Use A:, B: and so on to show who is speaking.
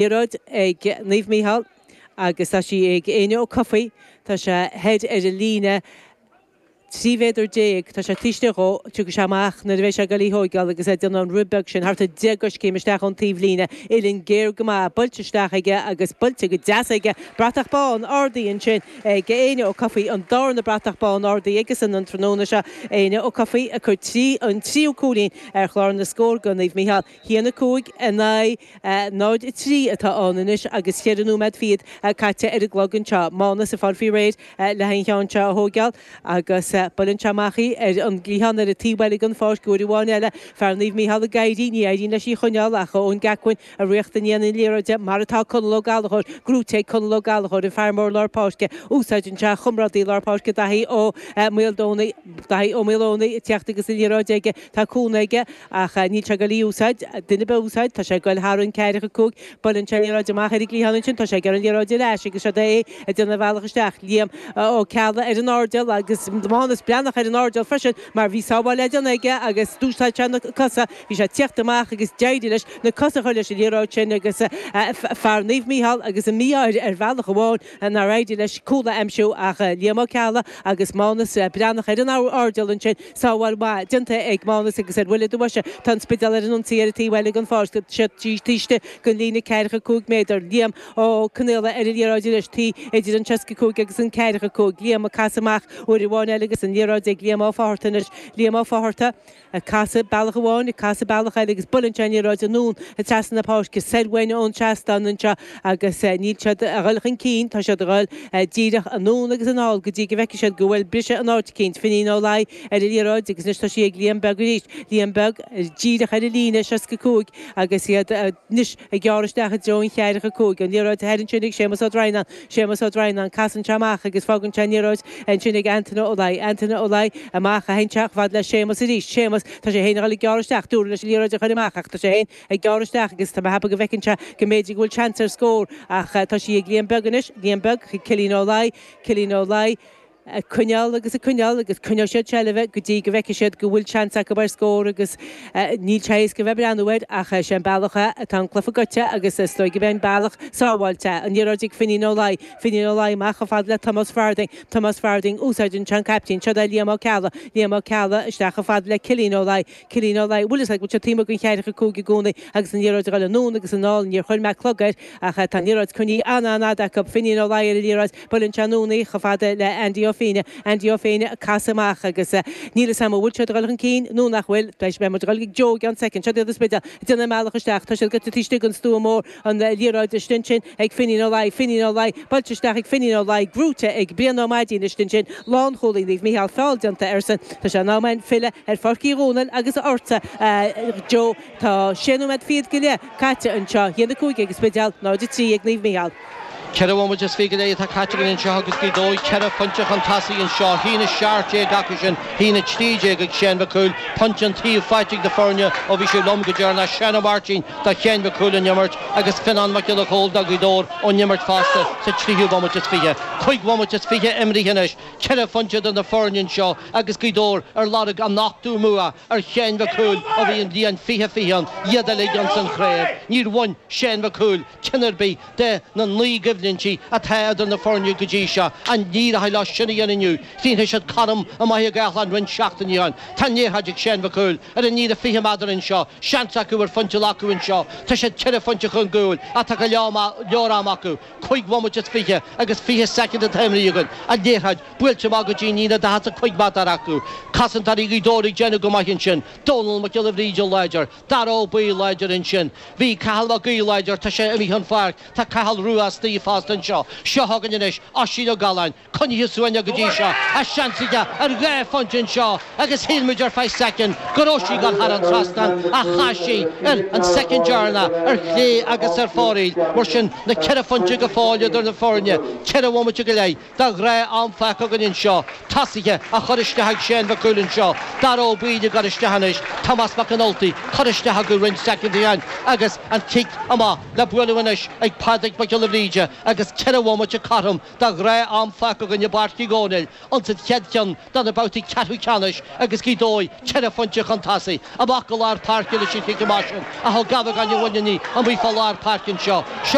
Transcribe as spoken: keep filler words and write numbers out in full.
A: Liathróid ag Naomh Mícheál agus tá sí ag Éanna Ó Cofaigh, tá sé thoir ar an líne trí mhéadar déag, tá sé taobh istigh dhó, tiocfaidh sé amach nuair a bheidh sé ag dul í thóigeáil agus é ag déanamh an rith beag sin thart ar deich gcoiscéim isteach ón taobhlíne, uillinn géar go maith, buailte isteach aige agus buailte go deas aige, bratach bán ardaithe ansin ag Éanna Ó Cofaigh, an darna bratach bán ardaithe aigesan an tráthnóna seo, Éanna Ó Cofaigh ag cur trí, an tríú cúilín ar chlár na scór do Naomh Mícheál. Haon a cúig in aghaidh náid a trí atá ann anois agus cheithre nóiméad fichead caite ar an gclog anseo. Mánas ag fáil faoi réir le an cheann seo a thóigeáil agus buaileann sé amach í ar an gcliathán ar an taobh eile den pháirc uair amháin eile. Fear Naomh Mícheál ag éirí, ní éiríonn leis í a choinneáil ach Eoin Gacquin ag ritheacht i ndiaidh na liathróide mar atá Conall Ó Gallchóir, gnóite ag Conall Ó Gallchóir, an fear mór lár páirce. Úsáideann sé a chomrádaí lár páirce Daithí Ó Maoldomhnaigh, Daithí Ó Maoldomhnaigh ag teacht agus an liathróid aige. Tá cúnamh aige ach níl sé ag dul í a úsáid, duine ar bith a úsáid, tá sé ag dul thar an ceathracha cúig, buaileann sé an liathróid amach ar an gcliathán ansin, tá sé ag iarraidh an liathróid ar ais agus siod é ag déanamh a bhealach isteach, Liam Ó Ceallaigh ar an airdeall agus Mánas Breathnach ar an airdeall freisin mar bhí sábháil le déanamh aige agus d'úsáid sé na cosa, bhí sé ag tíocht amach agus d'éirigh leis na cosa a chur leis an liathróid sin agus fear Naomh Mícheál agus an mí-ádh air ar bhealach amháin nár éirigh leis cúl a aimsiú ach Liam Ó Ceallaigh agus Mánas Breathnach ar an airdeall ansin. Sábháil mhaith déanta ag Mánas agus ar bhuille do bhoise tá an Spidéal ar an ionsaí ar an taobh eile den pháirc. Tá siad taobh istigh den líne ceathracha cúig méadar. Liam Ó Conaola ar an liathróid anois, taobh idir an seasca cúig agus an ceathracha cúig. Liam ag casadh amach uair amháin eile agus an liathróid ag Liam Ó Fátharta anois. Liam Ó Fátharta ag casadh bealach amháin, ag casadh bealach eile agus buaileann sé an liathróid anonn trasna na páirce soir uainn ón trasnán anseo agus níl siad a dhul chun cinn, tá siad a dhul díreach anonn agus anall go dtí go bhfeicfidh siad go bhfuil briseadh in áit eicínt. Finín Ó Laoi ar an liathróid agus anois tá sí ag Liam Beag arís. Liam Beag díreach ar an líne seasca cúig agus iad anois ag gearradh isteach i dtreo an cheathracha cúig. An liathróid thoir ansin ag Séamus Ó Droighneáin. Séamus Ó Droighneáin, casann sé amach agus fágann sé an liathróid ansin ag Antaine Ó Laoi. Antaine Ó Laoi amach a théann sé chomh fada le Séamus arís. Séamus, tá sé féin ag dul ag gearradh isteach. Dúradh leis an liathróid a chur amach ach tá sé féin ag gearradh isteach agus tá mé ag ceapadh go bhfeiceann sé go mb'fhéidir go bhfuil seans ar scór ach tá sí ag Liam Beag anois. Liam Beag chuig Cillian Ó Laoi. Cillian Ó Laoi. Ag coinneáil agus ag coinneáil agus coinneoidh siad seilbh go dtí go bhfeicfidh siad go bhfuil seans acu ar scór agus níl sé éasca a bheith ag breathnú air ach sé an bealach é atá an cluiche gaibhte agus is dóigh gurb é an bealach sábháilte é. An liathróid ag Finín Ó Laoi, Finín Ó Laoi amach chomh fada le Tomás Farthing, Tomás Farthing, úsáideann sé an caiptín, siod é Liam Ó Ceallaigh, Liam Ó Ceallaigh isteach chomh fada le Cillian Ó Laoi, Cillian Ó Laoi, bhfuil fhios agat go bhfuil sé taobh amuigh den cheathracha cúig i gcónaí agus an liathróid ag dul anonn agus anall, níor chuir mé clog air ach tá an liathróid coinnithe an-an-fhada acu, Finín Ó Laoi ar an liathróid, Buaileann sé anonn í chomh fada le Andy Ó Féinne, Andy Ó Féinne ag casadh amach agus níl fhios a'm an bhfuil siad ag dul chun cinn nó nach bhfuil. Beidh muid ag dul ag Joe i gceann soicind. Siod iad an Spidéal ag déanamh a mbealach isteach. Tá siad gaibhte taobh istigh den stua mór. An liathróid istigh ansin ag Finín Ó Laoi, Finín Ó Laoi, buailte isteach ag Finín Ó Laoi, gnóite ag Brian Ó Maidín istigh ansin. Lánchúlaí Naomh Mícheál feall déanta airsean. Tá sé in am againn filleadh ar Pháirc Uí Dhónaill agus ortsa a Joe. Tá sé nóiméad fichead go leith caite anseo. A haon a cúig ag an Spidéal, náid a trí ag Naomh Mícheál.
B: Ceithre bhomaite is fiche go leith atá caite againn anseo agus Gaoth Dobhair ceithre phointe chun tosaigh anseo, a haon a seacht déag acu sin, a haon a trí déag ag Seán Mac Cumhaill, pointe an taobh faighte ag na foirne ó bhí sibh liom go deireanach, Seán Ó Máirtín do Sheán Mac Cumhaill ón imirt agus Fionán Mac Giolla Chóill do Ghaoth Dobhair ón imirt fosta sa tríú bomaite is fiche. Cúig bhomaite is fiche imrithe anois, ceithre phointe idir na foirne anseo agus Gaoth Dobhair ar lorg a n-ochtú mbua ar Sheán Mac Cumhaill ó bhí an bhliain fiche fiche ann, iad uilig ins an chraobh. Níor bhain Seán Mac Cumhaill ceann ar bith de na naoi gcoimhlintí atá idir na foirne go dtí seo. An n-éireoidh leo sin a dhéanamh inniu? Chríochnaigh siad cothrom i mBaile Átha Cliath roinnt seachtainí ó shin. Tá an liathróid ag Seán Mac Cumhaill ar an líne fiche méadar anseo. Seans acu ar phointe a ghlacadh anseo. Tá siad ceithre phointe chun cúil ach tá go leor ama acu. Cúig bhomaite is fiche agus fiche soicind atá imrithe againn. An liathróid buailte amach go dtí an líne daichead is a cúig méadar acu. Cosantóirí Ghaoth Dobhair ag déanamh go maith ansin. Dónal Mac Giolla Bhríde láidir. Dara Ó Baoill láidir ansin. Bhí Cathal Mac Aoidh láidir, tá sé imithe ón pháirc. Tá Cathal Rua istigh fosta anseo. Seo chugainn anois Oisín Ó Galláin, coinnithe suaimhneach go dtí seo, ach seans aige ar dhá phointe anseo agus shíl muid ar feadh soicind go raibh sí ag dul thar an trasnán ach chas sí ar an soicind deireanach ar chlé agus ar fóraoil. Mar sin, na ceithre phointe go fóill idir na foirne, ceithre bhomaite go leith. De ghnáth-am fágtha againn anseo. Tosaithe á chur isteach ag Seán Mac Cumhaill anseo. Dara Ó Baoill ag dul isteach anois. Tomás Mac an Ultaigh curtha isteach acu roinnt soicind ó shin agus an cic amach le bualadh anois ag Pádraig Mac Giolla Bhríde. agus ceithre bhomaite cothrom de ghnáth-am fágtha againn i bPáirc Uí Dhónaill insa chéad cheann de na babhtaí ceathrú ceannais agus Gaoth Dobhair ceithre phointe chun tosaigh amach go lár páirce leis an chic amach sin a thug Gabhagán Bhuinní amuigh fá lár páirce anseo.